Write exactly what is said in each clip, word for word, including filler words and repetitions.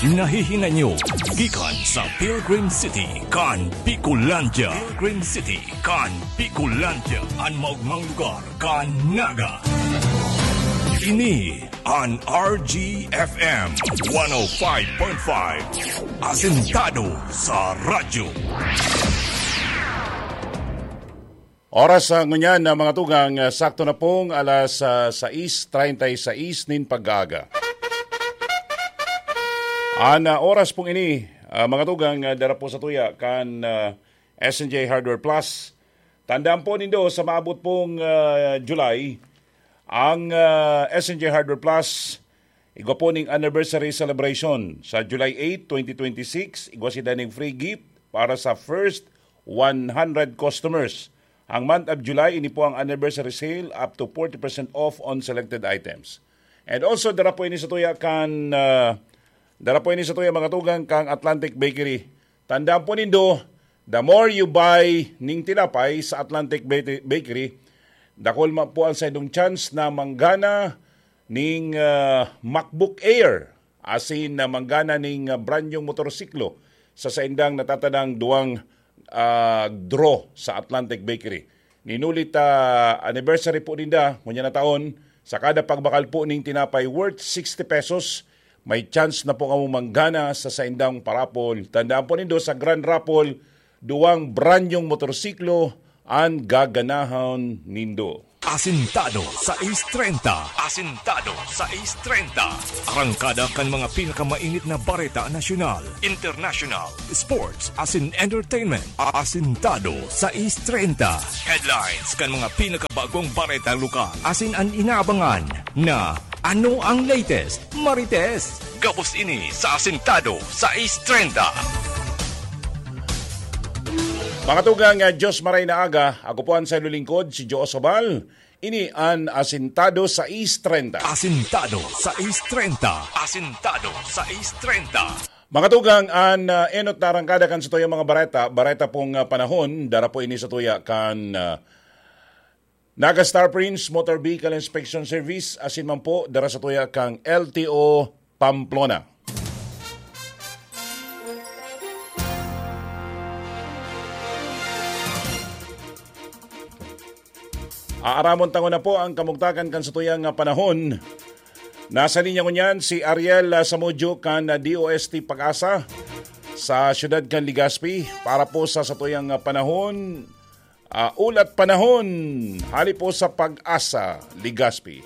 Nahihinay nyo gikan sa Pilgrim City kan Bicolandia. Pilgrim City kan Bicolandia, an maogmang lugar kan Naga. Ini an R G F M one oh five point five, asentado sa radyo. Oras sa ngunyan na mga tugang, ah, sakto na pong alas, ah, sais treinta y seis nin pag-aaga. An, ah, oras pong ini, ah, mga tugang, ah, dara po sa tuya kan, ah, S N J Hardware Plus. Tandaan po nindo, sa maabot pong, ah, July, ang, ah, S N J Hardware Plus, igwa po ning anniversary celebration. Sa July eight, twenty twenty-six, igwa sinda ning free gift para sa first one hundred customers. Ang month of July, ini po ang anniversary sale, up to forty percent off on selected items. And also, dara po ini sa tuya kan, ah, dara po ini sa tuya, mga tugang, kang Atlantic Bakery. Tandaan po nindo, the more you buy ning tinapay sa Atlantic Ba-, Bakery, dakul man po ang saindong chance na manggana ning, ah, MacBook Air, asin na manggana ning, ah, brand new motorsiklo sa saindang natatadang duwang, ah, draw sa Atlantic Bakery. Nin huli ta anniversary po ninda, ngunyan na taon, sa kada pagbakal po ning tinapay worth sixty pesos, may chance na po kamo manggana sa saindang parapol. Tandaan po nindo, sa Grand Raffle, duwang brand new motorsiklo an gaganahon nindo. Asintado sais treinta. Asintado sais treinta. Arangkada kan mga pinakamainit na bareta nasyonal, international, sports, asin entertainment. Asintado sais treinta. Headlines kan mga pinakabagong bareta lokal. Asin an inaabangan na ano ang latest, Marites. Gabos ini sa Asintado sais treinta. Mga tugang, ah, Diyos maray na aga, ako po ang sayo lingkod, si Joe Sobal. Ini an Asintado sais treinta. Asintado sais treinta. Asintado sais treinta. Mga tugang, an, ah, enot na arangkada kan satuyang mga bareta, bareta pong, ah, panahon, dara po ini sa tuya kan, ah, Naga Star Prince Motor Vehicle Inspection Service, asin man po, dara sa tuya kang L T O Pamplona. Aaramon tango na po ang kamugtakan kan satuyang, ah, panahon. Nasa linya ngunyan si Ariel, ah, Samudio kan, ah, D O S T Pag-asa sa siyudad kan Legazpi para po sa satuyang, ah, panahon, ah, ulat panahon. Hali po sa Pag-asa, Legazpi.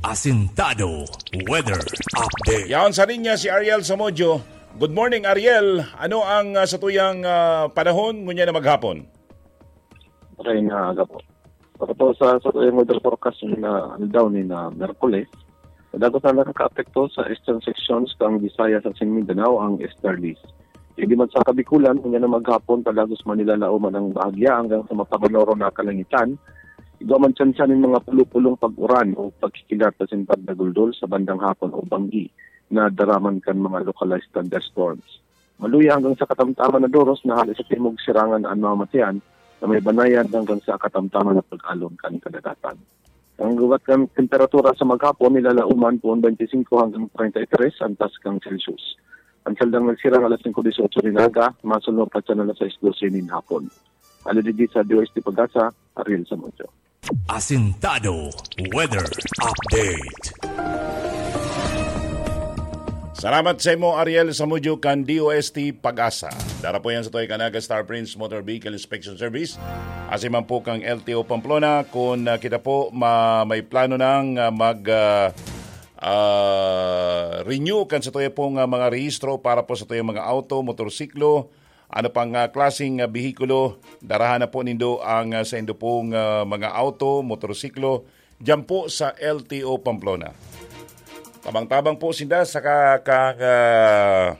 Asintado Weather Update. Yaon sa linya si Ariel Samudio. Good morning, Ariel. Ano ang, ah, satuyang, ah, panahon ngunyan na maghapon? Maray na aga po. Para po sa, sa weather forecast na aldaw ni na Merkules, dagos na nakakaapekto sa eastern sections kan Visayas asin Mindanao ang easterlies. Digdi man sa Kabikulan, ngunyan na maghapon, padagos man nilalaoman ang bahagya hanggang sa mapaganoron na kalangitan. Igwa man tsansa nin mga pulo-pulong pag-uran o pagkikilat asin pagdaguldol sa bandang hapon o banggi na daraman kan mga localized thunderstorms. Maluya hanggang sa katamtaman na doros na hali sa timog sirangan an mamamatean na may banayad hanggang sa katamtaman na pag-alon kan kadagatan. Ang gubat kan temperatura sa maghapon, nilalaoman poon twenty-five hanggang treinta y tres antas kan Celsius. Ang saldang nagsirang alas singko dieciocho nin aga, masunod pa sa alas sais doce nin hapon. Hali digdi sa D O S T Pag-asa, Ariel Samudio. Asintado Weather Update. Salamat sa imo, Ariel Samudio, kan D O S T Pag-asa. Dara po yan sa tuya kan Naga Star Prince Motor Vehicle Inspection Service. Asin man po kang L T O Pamplona, kung, ah, kita po ma-, may plano nang, ah, mag, ah, ah, renew kan sa tuya pong, ah, mga rehistro para po sa tuyang mga auto, motorsiklo, ano pang, ah, klaseng, ah, behikulo, darahan na po nindo ang, ah, saindo pong, ah, mga auto, motorsiklo, diyan po sa L T O Pamplona. Tabang-tabang po sinda sa ka-, ka-, ka-,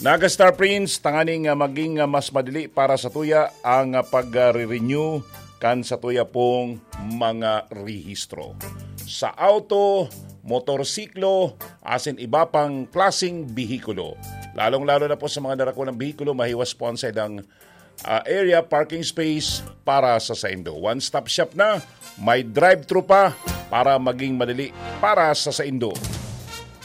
Naga Star Prince, tanganing, ah, maging, ah, mas madali para sa tuya ang, ah, pag-, ah, re-renew kan sa tuya pong mga rehistro. Sa auto, motorsiklo, asin iba pang klaseng behikulo. Lalong-lalo na po sa mga darakulang behikulo, mahiwas po ang saidang, ah, area, parking space para sa saindo. One-stop shop na, may drive-thru pa para maging madali para sa saindo.